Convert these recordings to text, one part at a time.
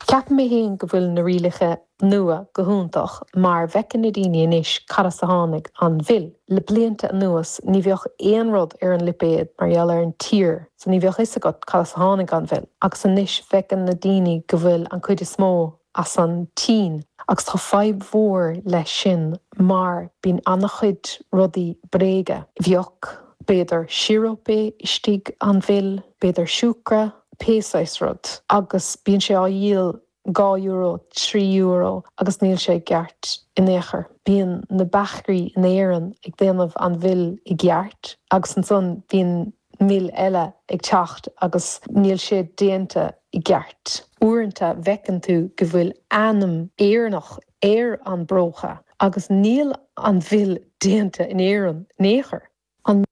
Ceapaim mé féin go bhfuil na rialacha nua go hiontach mar bhfeiceann na daoine anois cad as a tháinig an mhil. Le blianta anuas ní bheadh aon rud ar an lipéad mar gheall ar an tír so ní bheadh fhios agat cad as a tháinig an mhil agus anois bhfeiceann na daoine go bhfuil an cuid is mó as an tSín agus tá fadhb mhór leis sin mar bíonn an-chuid rudaí bréige. Bheadh b'fhéidir síoróip istigh an mhil, b'fhéidir siúcra, pé saghas rud agus bíonn sé á dhíol €2, €3 agus níl sé i gceart in aon chor. Bíonn na beachairí in Éirinn ag déanamh an mhil i gceart agus ansan bíonn mil eile ag teacht agus níl sé déanta i gceart. Uaireanta bhfeiceann tú go bhfuil ainm Éireannach ar an bpróca agus níl an mhil déanta in Éirinn in aon chor. An.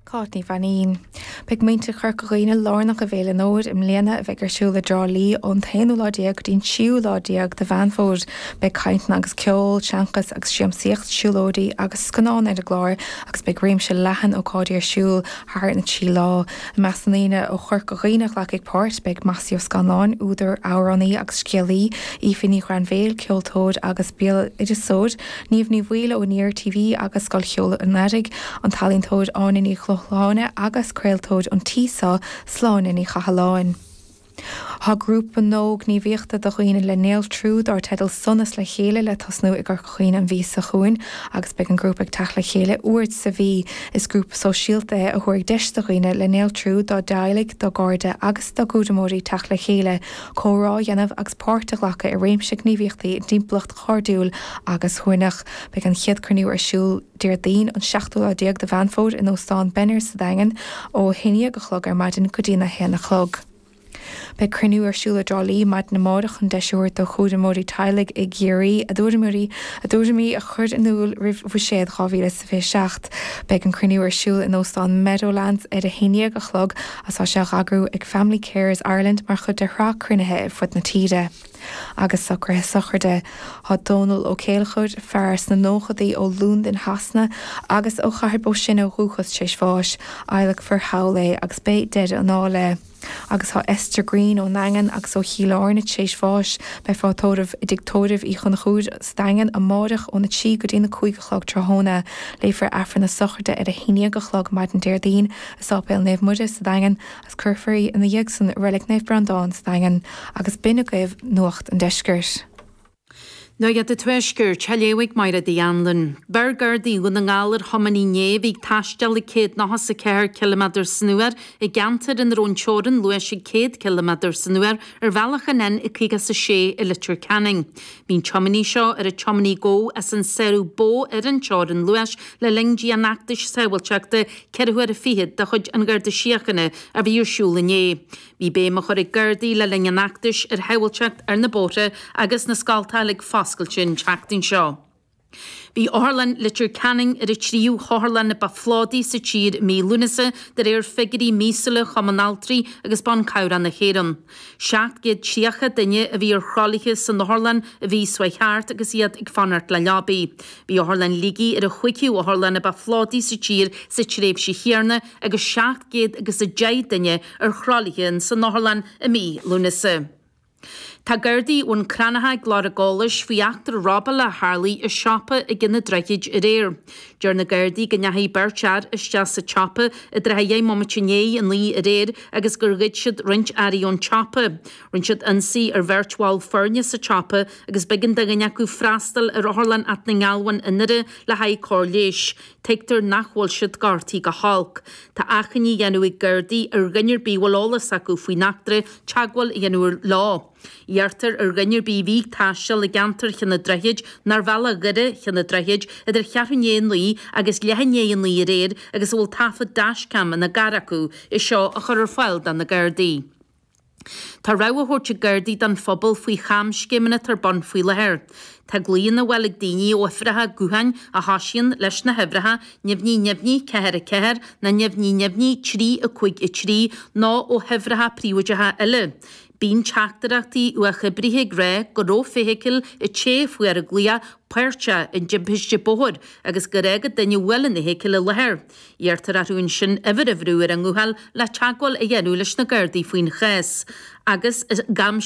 Cáit Ní Mhainín. Beidh muintir Chorca Dhuibhne lárnach i bhFéile an Fhómhair i mbliana a bheidh ar siúl i dTrá Lí ón t-aonú lá déag go dtí an tríú lá déag de Mheán Fómhair. Beidh cainteanna agus ceol, seanchas agus siamsaíocht, siúlóidí agus scannáin ar an gclár agus beidh réimse leathan ócáidí ar siúl thar na 3 lá. I measc na ndaoine ó Chorca Dhuibhne a ghlacfaidh páirt, beidh Mossie Ó Scanláin, údar, amhránaí agus scéalaí, Aoife Ní Ghrainbhéil, ceoltóir agus béaloideasóir, Niamh Ní Bhaoill ó Aniar TV agus Scoil Cheoil an Earraigh, an t-ealaíontóir Áine Ní Chlocháin agus craoltóir an tí seo, Sláine Ní Chathalláin. Tá grúpa nua gníomhaíochta do dhaoine le néaltrú dar teideal Sonas le Chéile le tosnú i gCorca Dhuibhne an mhí seo chugainn agus beidh an grúpa ag teacht le chéile uair sa mhí. Is grúpa sóisialta é a thabharfaidh deis do dhaoine le néaltrú, dá dteaghlaigh, dá gcairde agus dá gcúramóirí teacht le chéile, comhrá a dhéanamh agus páirt a ghlacadh i réimse gníomhaíochtaí i dtimpeallacht chairdiúil agus shuaimhneach. Beidh an chéad cruinniú ar siúl Déardaoin an seachtú lá déag de Mheán Fómhair in Óstán Benners sa Daingean ó 11 a chlog ar maidin go dtí a 1 a chlog. Beidh cruinniú ar siúl i dTrá Lí maidin amárach chun deis a thabhairt do chúramóirí teaghlaigh i gCiarraí a dtuairimí a dtuairimí a chur in iúl roimh Bhuiséad 2027. Beidh an cruinniú ar siúl in Óstán Meadowlands ar a 11 a chlog agus tá sé á eagrú ag Family Carers Ireland mar chuid de shraith cruinnithe ar fud na tíre. Agus socruithe sochraide. Tá Dónal Ó Céilleachair, fear sna nóchadaí ó Londain Shasana agus ó Chathair Bó Sine ó dhúchas, tar éis bháis. Adhlacfar thall é agus beidh deireadh anall é. Agus tá Esther Greene ón nDaingean agus ó Chill Airne tar éis bháis. Beifear á tórramh i dTigh Tórraimh Uí Chonchúir sa Daingean amáireach óna 3 go dtí na 5 a chlog tráthnóna. Léifear Aifreann na sochraide ar a 11 a chlog maidin Déardaoin i Sáipéal Naomh Muire sa Daingean. Agus cuirfear í ina dhiaidh san i Reilig Naomh Breandán sa Daingean agus b'in agaibh Nuacht an Deiscirt. Nuacht an Tuaiscirt, á léamh ag Máire Uí Anluain. Bheir Gardaí Dhún na nGall ar thiománaí inné a bhí ag taisteal ag 194 ciliméadar san uair i gceantar ina raibh an teorainn luais ag 100 ciliméadar san uair ar bhealach an N56 i Leitir Ceanainn. Bhí an tiománaí seo ar an tiománaí a gabhadh as an sárú ba mhó ar an teorainn luais le linn dianfheachtais sábháilteachta 4 huaire fichead de chuid an Gharda Síochána a bhí ar siúl inné. Bhí béim á chur ag Gardaí le linn an fheachtais ar shábháilteacht ar na bóithre agus na scoltacha uilig foscailte an tseachtain seo. Bhí Otharlann Leitir Ceanainn ar an tríú hotharlann ba phlódaí sa tír i mí Lúnasa de réir figiúirí míosúla Chumann Altraí agus Ban Cabhrach na hÉireann. 730 duine a bhí ar throlaithe san otharlann an mhí seo chuaigh thart agus iad ag fanacht le leabaí. Bhí Otharlann Shligigh ar an chúigiú otharlann a ba phlódaí sa tír sa tréimhse chéanna agus 710 duine ar throlaithe in san otharlann i mí Lúnasa. Tá Gardaí Bhun Cranncha ag lorg eolais faoi eachtra robála a tharlaigh i siopa i gCionn an Droichid aréir. Deir na Gardaí go ndeachaigh beirt fhear isteach sa tsiopa i dtrátha dheich mbomaite i ndiaidh 9 aréir agus gur ghoid siad roinnt earraí ón tsiopa. Rinne siad ionsaí ar bheirt bhall foirne sa tsiopa agus b'éigean do dhuine acu freastal ar Otharlann Áth na nGealbhán i nDoire le haghaidh cóir leighis. Tuigtear nach bhfuil siad gortaithe go holc. Tá achainí á dhéanamh ag Gardaí ar dhuine ar bith a bhfuil eolas acu faoin eachtra teagmháil a dhéanamh leo. Iarrtar ar dhuine ar bith a bhí ag taisteal i gceantar Chionn an Droichid nó ar bhealach Dhoire Chionn an Droichid idir cheathrú i ndiaidh 9 agus leath i ndiaidh 9 aréir agus a bhfuil taifead dashcam ina gcarr acu, é seo a chur ar fáil do na Gardaí. Tá rabhadh á thabhairt ag Gardaí don phobal faoi chamscéimeanna atá ar bun faoi láthair. Tá glaonna á bhfáil ag daoine ó uimhreacha gutháin a thosaíonn leis na huimhreacha neamhní neamhní 4 4 nó neamhní neamhní 3 5 3 nó ó huimhreacha príobháideacha eile. Bíonn teachtaireachtaí uathoibrithe ag rá go raibh feithicil an té a fuair an glaoch páirteach i dtimpiste bóthair agus gur fhág duine a bhuail an fheithicil an láthair. Iarrtar orthu ansin uimhir a bhrú ar a nguthán le teagmháil a dhéanamh leis na Gardaí faoin chás agus i.